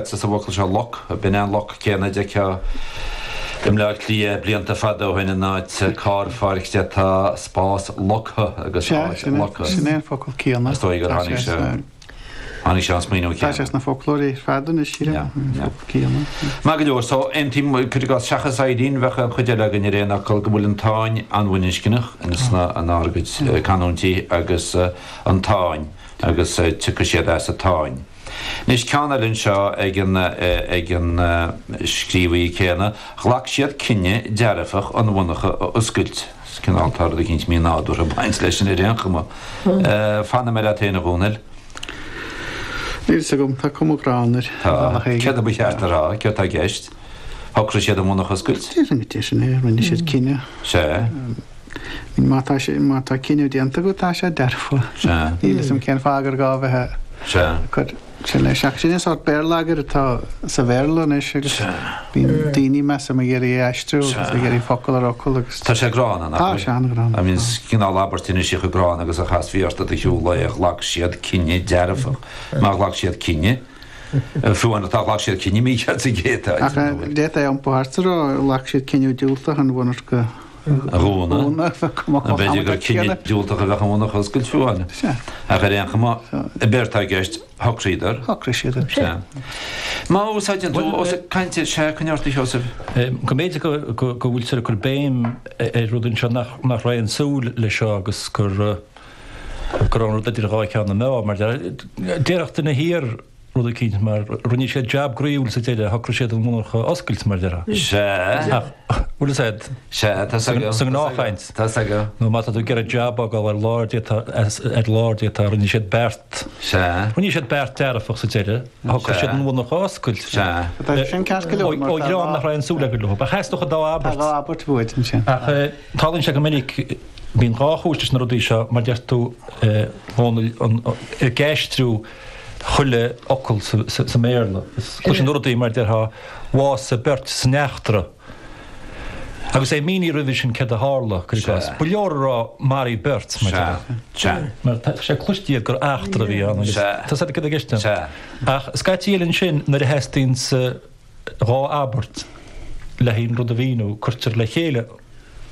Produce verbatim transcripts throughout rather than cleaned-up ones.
Sa bhfocal seo loc, b'in é an loc céanna a d'fheicfeá i mBleá Cliath blianta fada ó shin in áit carrpháirce tá spás loctha agus áit loctha. Sin é an focal céanna. Is dóigh gur tháinig sé tháinig sé an smaoineamh Tá sé céanna. sna foclóirí ar fad anois sílim, an focal céanna. Maith go leor, so aontaím, cuir i gcás, seachas Eileen, bheadh an chuid eile againn ar aon fhocal go bhfuil an Táin an-bhaininscneach sna inár gcuid canúintí agus an Táin agus tiocfaidh siad as an Táin. Anois ceann eile anseo ag an ag an scríobhaí céanna, ghlac siad cinneadh dearfach an mhonarcha a oscailt. Is cineál tá rud eicínt mí-nádúrtha ag baint leis sin ar aon chuma. Fanfaidh mé leat féin a Dhónaill. Níl fhios agam, tá cuma ghránna air. Tá. Céard a ba cheart a rá? Céard tá i gceist? Shocraigh siad an mhonarcha a oscailt? Déarfainn go dté sin é, rinne siad cinneadh. Sea. Má tá sé, má tá cinneadh déanta agat, tá sé dearfa. Sea. Níl fhios agam cén fáth gur gá a bheith Sea. ag cur sin leis. Ach sin é sórt béarlagair atá sa Bhéarla anois agus bíonn daoine, measaim, ag iarraidh é a aistriú agus ag iarraidh focal ar fhocal agus. Tá sé gránna, nach Tá bhfuil? sé an-ghránna. I mean, is cineál abairt anois í chomh gránna agus a chasfaí ort i do shiúl lae, ghlac siad cinneadh dearfach. Má ghlac siad cinneadh, fiú amháin atá ghlac siad cinneadh mícheart sa gcéad áit, Ach d'fhéadfaí a iompú thart a rá, ghlac siad cinneadh diúltach an mhonarcha a dhúnadh. B'fhéidir B'fhéidir gur cinneadh diúltach a bheadh an mhonarcha a oscailt fiú amháin. Ach ar aon chuma, b'éard atá i gceist, shocraíodar. Shocraigh siad. Sea. Má úsáideann tú, ós ag caint ar, sea, coinnigh ort a Sheosaimh. Go mb'fhéidir go go bhfuiltear ag cur béim ar rud anseo nach nach raibh aon súil leis seo agus gur go raibh an rud idir dhá cheann na meá mar déarfadh duine thiar rud eicínt mar rinne siad jab groíúil sa deireadh, shocraigh siad an mhonarcha a oscailt mar déarfá. Sea. Ach, bhfuil fhios a'd? Sea, tá 's agam. Sa ngnáthchaint. Tá 's agam. Nó má tá tú ag iarraidh jab a fhágáil ar lár déarfá, ar lár déarfá, rinne siad beart. Sea. Rinne siad beart dearfach sa deireadh, shocraigh siad an mhonarcha a oscailt. Sea. Tá sin ceart go leor mar Ó dhream nach raibh aon súil acu leo. Ach theastódh an dá abairt. Tá dhá abairt uait ansin. Ach tarlaíonn sé go minic, bíonn dhá chúis leis na rudaí seo, mar deir tú, a Dhónaill, ag aistriú chuile fhocal sa mBéarla. Cloiseann tú rudaí mar déarfá, bhásaigh beirt san eachtra. Agus é mínithe roimhe sin céard a tharla, cuir i gcás. Ba leor a rá maraíodh beirt, mar déarfá. Mar tá sé cloiste agat gur eachtra a bhí ann agus tá 's agat céard atá i gceist ann. Ach scaití eile ansin nuair a theastaíonn dhá abairt le haon rud a mhíniú, cuirtear le chéile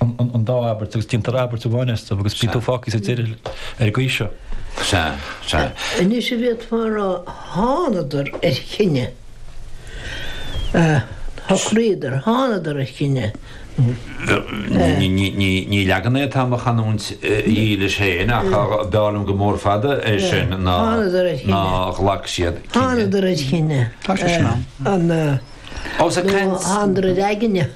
an dá abairt agus déantar abairt amháin astu agus bíonn tú fágtha sa deireadh ar an gcaoi seo. Sea, sea. Anois an bhféadfá a rá thánadar ar chinneadh, shocraíodar, thánadar ar chinneadh. Ní leagan é atá i mo chanúint dhílis féin ach b'fhearr liom go mór fada é sin ná ghlac siad cinneadh. Thánadar ar chinneadh. Tá sé sin ann. An Ós ag caint. Nó thánadar ar aigne.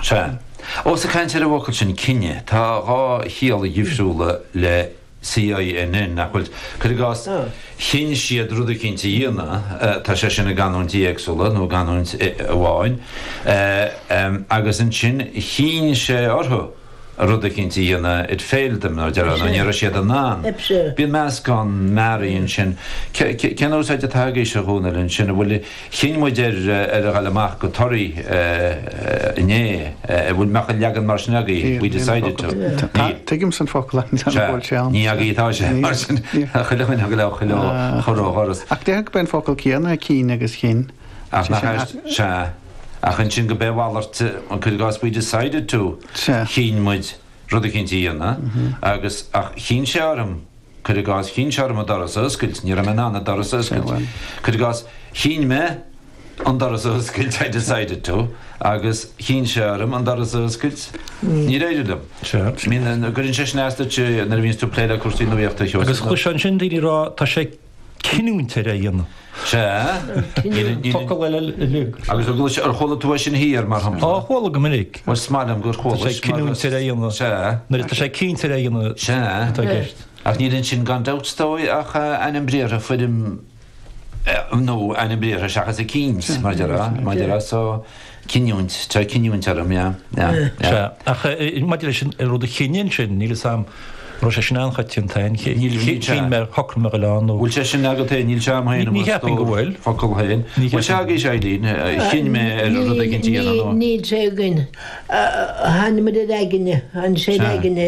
Sea. Ós ag caint ar an bhfocal sin cinneadh, tá dhá chiall dhifriúla le CINN, nach bhfuil? Cuir i gcás, chinn siad rud eicínt a dhéanamh, tá sé sin i gcanúintí éagsúla, nó i gcanúint amháin, agus ansin chinn sé orthu rud eicínt a dhéanamh, it failed them, nó déarfá, nó ní raibh siad in ann. Bíonn meascán mearaí ansin. Cén úsáid atá agaibhse, a Dhónaill, ansin? An bhfuil. Chinn muid ar ar a ghoil amach go Toraigh inné. An bhfuil mbeadh an leagan mar sin agaibh? We decided to. Níl. Tuigimse an focal ach níl an bhfuil sé ann. Ní agaibh atá sé mar sin. Chuile dhuine a ghoil chuile chur ó dhoras. Ach déarfainn gurb é an focal céanna é cinn agus chinn. Ach nach ea? Sea. Ach ansin go b'é a mhalairt, cuir i gcás we decided to. Sea. Chinn muid rud eicínt a dhéanamh agus ach chinn sé orm. Cuir i gcás, chinn sé orm an doras a oscailt, ní raibh mé in ann an doras a oscailt. Cuir i gcás, chinn mé an doras a oscailt, I decided to, agus chinn sé orm an doras a oscailt, níor éirigh liom. Mín, cuireann sé sin as duit nuair a bhíonns tú ag plé le cúrsaí nuaíochta, a Sheosaimh. Agus chloisfeá ansin daoine ag rá, tá sé cinniúint air é a dhéanamh. Sea. Focal eile uilig. Agus ar gcluais, ar chuala tú é sin thiar, mar shampla? Á, chuala go minic. Bhuel, is maith liom gur chualais. Tá sé cinniúint air é a dhéanamh. Sea. Nuair atá sé cinnte air é a dhéanamh. Sea. Atá i gceist. Ach níl ansin gan dabht is dóigh ach ainm briathartha foirm nó ainm briathartha seachas eicínt, mar a déarfá, mar a déarfá, so cinniúint, tá cinniúint orm, yeah, yeah, yeah. Sea, ach maidir leis an rud a chinneadh ansin, níl 'fhios a'm Raibh sé sin an-choitianta féin. Chinn mé, shocraigh mé a ghoil ann nó. Bhfuil sé sin agat féin? Níl sé a'm féin i mo stór focal féin. Bhfuil sé agaibhse, Eileen? Chinn mé ar rud éigin a dhéanamh nó. Níl sé againn. Tháinig muid ar aigne, tháinig sé ar aigne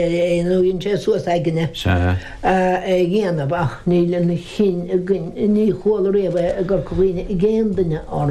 nó dhein sé suas aigne é a dhéanamh ach níl an chinn againn, ní chuala riamh é i gCorca Dhuibhne ag aon duine á rá.